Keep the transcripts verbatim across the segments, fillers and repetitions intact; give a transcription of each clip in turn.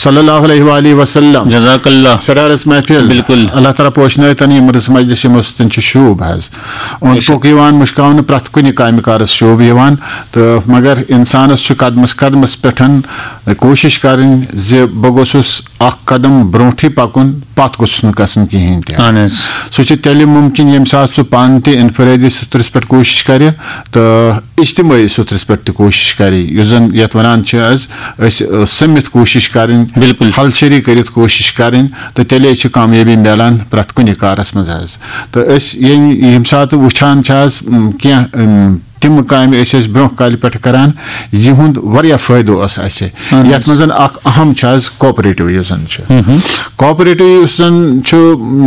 صلی اللہ علیہ وآلہ وسلم۔ جزاک اللہ۔ سرارس محفل۔ بالکل۔ اللہ تعالیٰ پوشنٲے تن یِم رٕژ مجلس یِمو سۭتۍ چھُ شوٗب حظ۔ اوٚنٛد پوٚک یِوان مُشکاونہٕ، پرٛٮ۪تھ کُنہِ کامہِ کارس شوٗب یِوان۔ تہٕ مگر انسانس چھُ قدمس قدمس پٮ۪ٹھ کوٗشش کرٕنۍ زِ بہٕ گوٚژھُس اکھ قدم برونٛٹھٕے پکُن، پتھ گوٚژھُس نہٕ گژھُن کِہینۍ تہِ۔ اہن حظ۔ سُہ چھُ تیٚلہِ مُمکِن ییٚمہِ ساتہٕ سُہ پانہٕ تہِ انفرٲدی سطرس پٮ۪ٹھ کوٗشش کرِ تہٕ اجتمٲعی سطرس پٮ۪ٹھ تہِ کوٗشش کرِ، یُس زن یتھ ونان چھِ أسۍ، أسۍ، أ، سٔمِتھ کوٗشش کرٕنۍ، بالکل۔ ہلچھری کٔرِتھ کوٗشش کرٕنۍ، تہٕ تیٚلے چھِ کامیٲبی میلان پرٛٮ۪تھ کُنہِ کارس منٛز حظ۔ تہٕ أسۍ ییٚمہِ، ییٚمہِ ساتہٕ وٕچھان چھِ حظ، م، کینٛہہ، م، تِم کامہِ أسۍ ٲسۍ برونٛہہ کالہِ پٮ۪ٹھ کران، یِہُنٛد واریاہ فٲیدٕ اوس اَسہِ۔ اہن حظ۔ یَتھ منٛز اکھ اہم چھُ حظ کوآپریٹو یُس زن چھُ۔ کوآپریٹو یُس زن چھُ،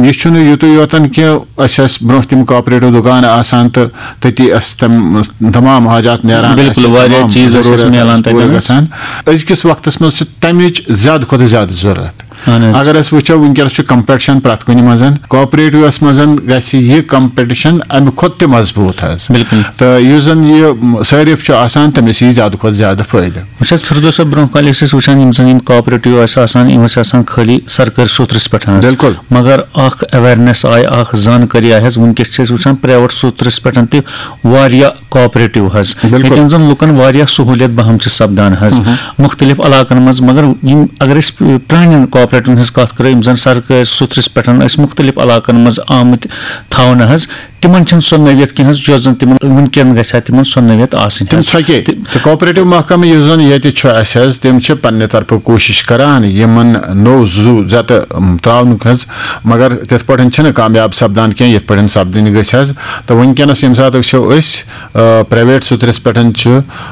یہِ چھُنہٕ یُتُے یوتن کہِ أسۍ ٲسۍ برونٛہہ تِم کوآپریٹو دُکان آسان تہٕ تٔتی ٲسۍ تِم تمام حاجات نیران، بالکل، اَسہِ واریاہ تمام چیٖز ٲسۍ اَسہِ ضروٗرت میلان ٲسۍ پوٗرٕ تَتٮ۪ن۔ گژھان۔ أزکِس وقتس منٛز چھِ تَمِچ زیادٕ کھۄتہٕ زیادٕ ضروٗرت۔ اہن حظ۔ اگر أسۍ وٕچھو، وٕنکیٚنس چھُ کمپٹیشن پرٛٮ۪تھ کُنہِ منٛز، کوآپریٹوس منٛز گژھِ یہِ کمپٹیشن امہِ کھۄتہٕ تہِ مضبوٗط حظ۔ بالکل۔ تہٕ یُس زن یہِ صٲرِف چھُ آسان، تٔمِس یی زیادٕ کھۄتہٕ زیادٕ فٲیدٕ۔ وٕچھ حظ، فردوس صٲب، برونٛہہ کالہِ ٲسۍ أسۍ وٕچھان، یِم زَن یِم کوآپریٹو ٲسۍ آسان، یِم ٲسۍ آسان خٲلی سرکٲرۍ سوٚترَس پٮ۪ٹھ حظ۔ بِلکُل۔ مگر اَکھ awareness آیہِ، اَکھ زانکٲری آیہِ حظ۔ وٕنکیٚس چھِ أسۍ وٕچھان پرٛایویٹ سوٚترَس پٮ۪ٹھ تہِ واریاہ کوآپریٹو حظ، بِلکُل۔ ییٚتٮ۪ن زَن لُکَن واریاہ سہوٗلیت بہم چھِ سَپدان حظ۔ مُختٔلِف علاقَن منٛز، مگر یِم اگر أسۍ پرٛانٮ۪ن کوآپریٹوَن ہٕنٛز کَتھ کَرو، یِم زَن سرکٲرۍ سوٚترَس پٮ۪ٹھ ٲسۍ مُختٔلِف علاقَن منٛز آمٕتۍ تھاونہٕ حظ، تِمن چھنہٕ سۄ نوعیت کینٛہہ حظ، یۄس زن تِمن وٕنکیٚن گژھِ ہا تِمن سۄ نوعیت آسٕنۍ تِم حظ۔ ژھۄکے۔ تہِ- تہٕ کوآپریٹو محکمہٕ یُس زن ییٚتہِ چھُ اَسہِ حظ، تِم چھِ پننہِ طرفہٕ کوٗشش کران یِمن نوٚو زُو زتہٕ، ام، تراونُک حظ، مگر تِتھ پٲٹھۍ چھِنہٕ کامیاب سپدان کینٛہہ، یِتھ پٲٹھۍ سپدٕنۍ گٔژھۍ حظ۔ تہٕ وٕنکیٚنس ییٚمہِ ساتہٕ وٕچھو أسۍ، آ، پرایویٹ سوٚترِس پٮ۪ٹھ چھُ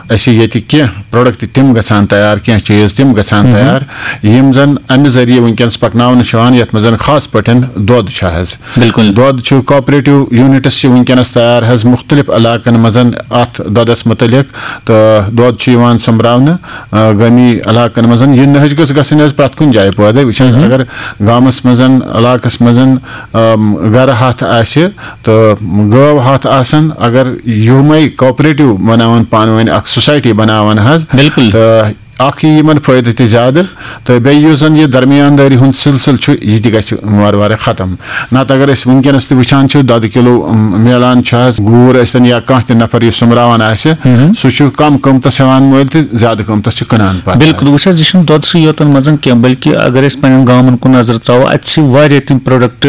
اَسہِ ییٚتہِ کینٛہہ پروڈکٹ تِم گژھان تیار، کینٛہہ چیٖز تِم گژھان تیار، یِم زن امہِ ذٔریعہٕ وٕنکیٚنس پکناونہٕ چھِ یِوان، یتھ منٛز زن خاص پٲٹھۍ دۄد چھُ حظ۔ بِلکُل۔ دۄد چھُ کوآپریٹو یوٗنٹس چھِ وٕنکیٚنس تیار حظ مُختٔلِف علاقن منٛز اَتھ دۄدس مُتعلِق، تہٕ دۄد چھُ یِوان سوٚمبراونہٕ، آ، گٲمی علاقن منٛز۔ یہِ نٔہج گٔژھ گژھٕنۍ حظ پرٛٮ۪تھ کُنہِ جایہِ پٲدٕ۔ وٕچھان اگر گامس منٛز، علاقس منٛز، آم، گرٕ ہتھ آسہِ تہٕ گٲو ہتھ آسن، اگر یِمے کوآپریٹو بناون، پانہٕ ؤنۍ اکھ سوسایٹی بناون حظ، بِلکُل۔ تہٕ اکھ یی یِمن فٲیدٕ تہِ زیادٕ، تہٕ بیٚیہِ یُس زن یہِ درمیان دٲری ہُنٛد سلسلہٕ چھُ، یہِ تہِ گژھِ وارٕ وارٕ ختم۔ نتہٕ اگر أسۍ وٕنکیٚنس تہِ وٕچھان چھِ، دۄدٕ کِلوٗ، ام، میلان چھُ حظ، گوٗر ٲسۍ تن یا کانٛہہ تہِ نفر یُس سوٚمبراوان آسہِ، سُہ چھُ کم قۭمتس ہٮ۪وان مٔلۍ تہٕ زیادٕ قۭمتس چھُ کٕنان پتہٕ۔ بِلکُل، وٕچھ حظ، یہِ چھُنہٕ دۄدسٕے یوتن منٛز کینٛہہ، بلکہِ اگر أسۍ پننٮ۪ن گامن کُن نظر تراوو، اتہِ چھِ واریاہ تِم پروڈکٹ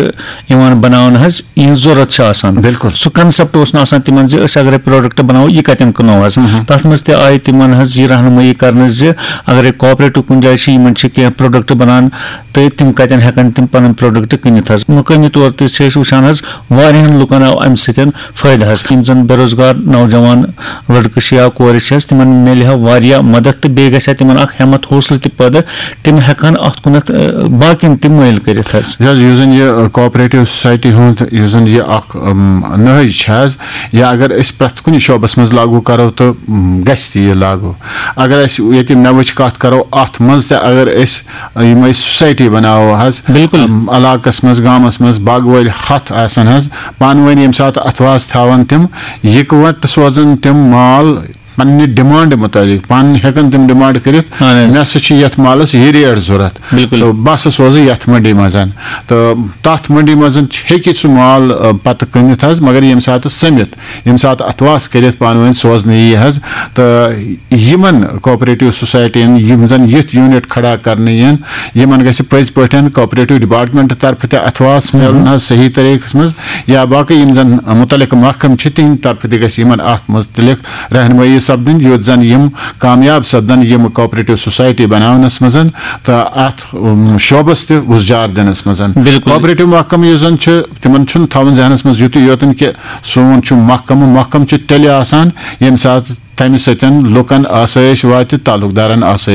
یِوان بناونہٕ حظ، یِہنٛز ضروٗرت چھِ آسان۔ بِلکُل۔ سُہ concept اوس نہٕ آسان تِمن زِ أسۍ اگرے پروڈکٹ بناوو، یہِ کتٮ۪ن کٕنو حظ۔ تتھ منٛز تہِ آیہِ تِمن حظ یہِ رہنمٲیی کرنہٕ زِ اگرے کوآپریٹو کُنہِ جایہِ چھِ، یِمن چھِ کینٛہہ پروڈکٹ بنان تہٕ تِم کتٮ۪ن ہٮ۪کن تِم پنٕنۍ پروڈکٹ کٕنِتھ حظ۔ مقٲمی طور تہِ چھِ أسۍ وٕچھان حظ، واریاہن لُکن آو امہِ سۭتۍ فٲیدٕ حظ۔ یِم زن بے روزگار نوجوان لڑکہٕ چھِ یا کورِ چھِ حظ، تِمن میلہِ ہا واریاہ مدد تہٕ بیٚیہِ گژھِ ہا تِمن اکھ ہٮ۪مت حوصلہٕ تہِ پٲدٕ، تِم ہٮ۪کہٕ ہن اتھ کُنتھ، آ، باقین تہِ مٲیل کٔرِتھ حظ۔ یہِ حظ، یُس زن یہِ، آ، کوآپریٹو سوسایٹی ہُنٛد یُس زن یہِ اکھ، ام، نہج چھِ حظ، یا اگر أسۍ پرٛٮ۪تھ کُنہِ شعبس منٛز لاگو کرو تہٕ، ام، گژھِ تہِ یہِ لاگو۔ اگر أسۍ ییٚتہِ مٮ۪وٕچ کتھ کرو، اتھ منٛز تہِ اگر أسۍ یِمے سوسایٹی بناوو حظ، بِلکُل۔ ام، علاقس منٛز، گامس منٛز باغہٕ وٲلۍ ہتھ آسن حظ، پانہٕ ؤنۍ ییٚمہِ ساتہٕ اتھواس تھاون تِم، یکوٹہٕ سوزن تِم مال پننہِ ڈیمانڈ مُطٲبق، پانہٕ ہٮ۪کن تِم ڈیمانڈ کٔرِتھ، اہن حظ۔ مےٚ ہسا چھِ یتھ مالس یہِ ریٹ ضروٗرت۔ بِلکُل۔ تہٕ بہٕ ہسا سوزٕ یتھ منڈی منٛز۔ تہٕ تتھ منڈی منٛز ہیٚکہِ سُہ مال، آ، پتہٕ کٕنِتھ حظ، مگر ییٚمہِ ساتہٕ سٔمِتھ، ییٚمہِ ساتہٕ اتھواس کٔرِتھ پانہٕ ؤنۍ سوزنہٕ یی حظ۔ تہٕ یِمن کوآپریٹو سوسایٹین، یِم زن یِتھۍ یوٗنٹ کھڑا کرنہٕ یِن، یِمن گژھِ پٔزۍ پٲٹھۍ کوآپریٹو ڈپارٹمنٹ طرفہٕ تہِ اتھواس میلُن حظ صحیح طریقس منٛز، یا باقٕے یِم زن مُتعلقہٕ محکمہٕ چھِ، تِہنٛدِ طرفہٕ تہِ گژھِ یِمن اتھ مُتعلق رہنمٲیی سپدٕنۍ، یُتھ زن یِم کامیاب سپدن یِم کوآپریٹو سوسایٹی بناونس منٛز تہٕ اتھ، ام، شعبس تہِ وُزجار دِنس منٛز۔ بِلکُل۔ کوآپریٹو محکمہٕ یُس زن چھُ، تِمن چھُنہٕ تھاوُن ذہنس منٛز یُتُے یوتن کہِ سون چھُ محکمہٕ، محکمہٕ چھُ تیٚلہِ آسان ییٚمہِ ساتہٕ تمہِ سۭتۍ لُکن آسٲیش واتہِ، تعلق دارن آسٲیش